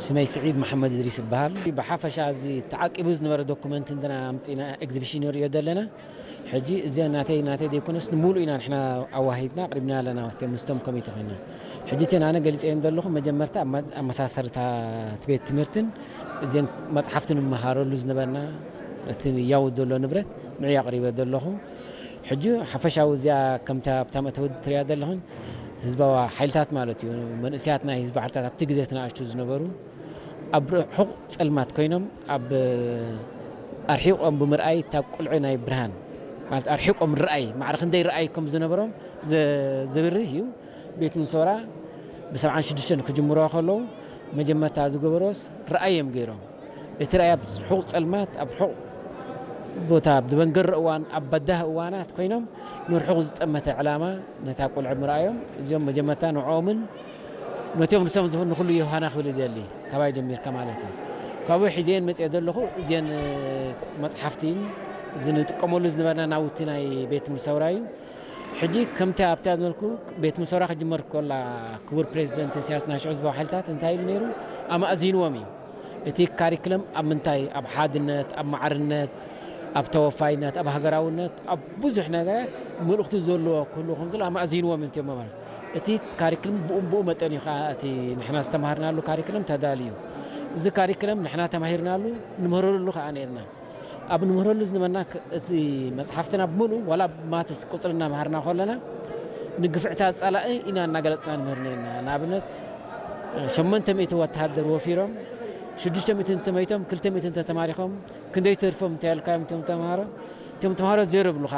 ስመይ ስዒድ መሓመድ እድሪስ ይበሃል። ብሓፈሻ እዚ ተዓቂቡ ዝነበረ ዶኩመንት እንትና ኣምፂና ኤግዚቢሽን ንሪኦ ዘለና። ሕጂ እዚኣ ናተይ ናተይ ዘይኮነስ ንሙሉእ ኢና ንሕና ኣዋሂድና ኣቕሪብና ኣለና፣ ምስቶም ኮሚቴ ኮይና። ሕጂ እተን ኣነ ገሊፀየን ዘለኹ መጀመርታ ኣብ መ- ኣመሳሰርታ እቲ ቤት ትምህርትን እዚን መፅሓፍቲ ንመሃረሉ ዝነበርና እቲ ያው ዘሎ ንብረት ንዑ ኣቕሪበ ዘለኹ። ሕጂ ሓፈሻዊ እዚኣ ከምታ ኣብታ መእተዊ ትሪኣ ዘለኹን ህዝባዊ ሓይልታት ማለት እዩ፣ መንእሰያት ናይ ህዝቢ ሓይልታት ኣብቲ ግዜ እቲ ንኣሽቱ ዝነበሩ ኣብ ርሑቕ ጸልማት ኮይኖም ኣብ ኣርሒቖም ብምርኣይ እታ ቁልዒ ናይ ብርሃን ማለት ኣርሒቖም ርኣይ ማዕረ ክንደይ ርኣይ ከም ዝነበሮም ዘብርህ እዩ። ቤት ምሶራ ብ76 ክጅምሮ ከለዉ መጀመርታ ዝገበሮስ ርኣይ እዮም ገይሮም። እቲ ርኣይ ኣብ ርሑቕ ጸልማት ኣብ ርሑቕ ቦታ ኣብ ዝበንገረ እዋን ኣብ በዳህ እዋናት ኮይኖም ንርሑቕ ዝጠመተ ዕላማ ነታ ቁልዒ ምርኣዮም እዚኦም መጀመርታ ንዕኦምን ነቲኦም ንሶም ዝኹን ንኹሉ ዮሃና ክብል ይደሊ። ካባይ ጀሚርካ ማለት እዩ። ካብኡ ሒዘን መፅኦ ዘለኹ እዚን መፅሓፍቲን እዚ ንጥቀመሉ ዝነበርና ናውቲ ናይ ቤት ምሰውራ እዩ። ሕጂ ከምቲ ኣብታ ዝበልኩ ቤት ምሰውራ ክጅመር ከላ ክቡር ፕሬዚደንት ኢሳያስ ናይ ሽዑ ዝበው ሓይልታት እንታይ ኢሉ ነይሩ ኣማእዚንዎም እዩ። እቲ ካሪክለም ኣብ ምንታይ ኣብ ሓድነት ኣብ ማዕርነት ኣብ ተወፋይነት ኣብ ሃገራውነት ኣብ ብዙሕ ነገራት መልእኽቲ ዘለዎ ክህሉ ከም ዘሎ ኣማእዚንዎም እዮም ማለት። እቲ ካሪክለም ብኡ ብኡ መጠን እዩ ከዓ እቲ ንሕና ዝተማሃርናሉ ካሪክለም ተዳልዩ። እዚ ካሪክለም ንሕና ተማሂርናሉ ንምህረሉ ከዓ ነርና። ኣብ ንምህረሉ ዝነበና እቲ መፅሓፍትና ብምሉ ዋላ ማትስ ቁፅሪ እናምሃርና ከለና ንግፍዕታት ፀላኢ ኢና እናገለፅና ንምህር ነርና። ንኣብነት ሸመንተ ሚእቲ ወተሃደር ወፊሮም ሽዱሽተ ሚእቲ እንተመይቶም ክልተ ሚእቲ እንተተማሪኾም ክንደይ ተርፎም እንተልካዮም እቶም ተምሃሮ እቶም ተምሃሮ ዜሮ ብሉኻ።